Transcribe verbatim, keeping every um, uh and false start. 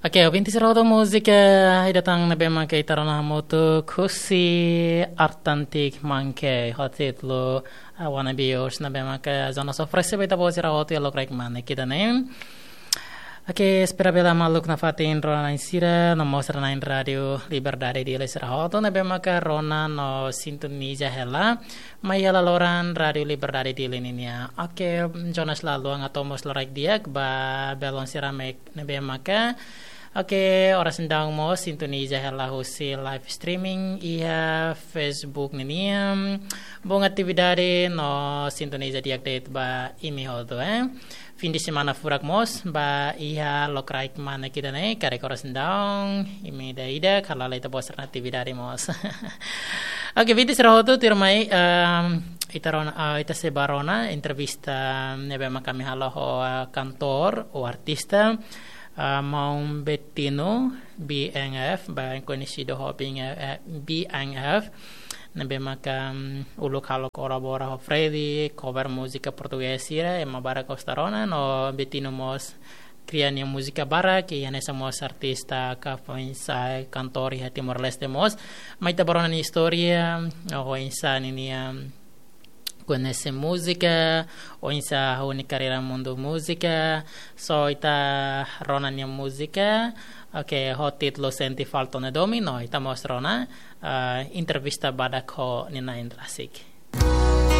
Oke, ouvinte sira hotu, múzika ida tan ne'ebé maka ita rona hamutuk husi Artantik Monkey, ho títulu, ah, Wanna Be Yours, ne'ebé maka Jonas oferese ba ita-boot sira hotu iha lokraik manek ida-ne'e. Oke, espera bele maluk nafatin rona-na'in sira, no mós rona-na'in Rádiu Liberdade Dili sira hotu ne'ebé maka rona no sintoniza hela mai iha laloran Rádiu Liberdade Dili nian. Oke, Jonas, la haluha atu hato'o mós lokraik di'ak ba belun sira ne'ebé maka, oke, oras ne'e daudaun mós sintoniza hela husi live streaming iha Facebook nian. Bom atividade no sintoniza di'ak de'it ba imi hotu, eh. Fim de semana furak mós ba iha lokraik manek ida-ne'e, karik oras ne'e daudaun imi ida-idak hala'o ita-boot sira-nia atividade mós. Oke, ouvinte sira hotu, tuirmai, ehm, ita rona, ah, ita sei bá rona entrevista ne'ebé maka ami halo ho, ah, kantór ou artista, ah, maun Betino, B N F, bem conhecido ho B N F, eh, B N F, ne'ebé maka, mm, uluk halo kolabora ho Freddy, cover múzika portugés sira, ema barak gosta rona, no Betino mós kria nia múzika barak, i hanesan mós artista ka foin-sa'e kantór iha Timor-Leste mós. Mai ita bá rona nia istória, oinsá ninia koñese múzika, oinsá hahú nia karreira mundu múzika, so ita rona nia múzika, oke, ho títulu Sente Falta Ne'e Domin, no ita mós rona, ah, entrevista badak ho nia na'in rasik.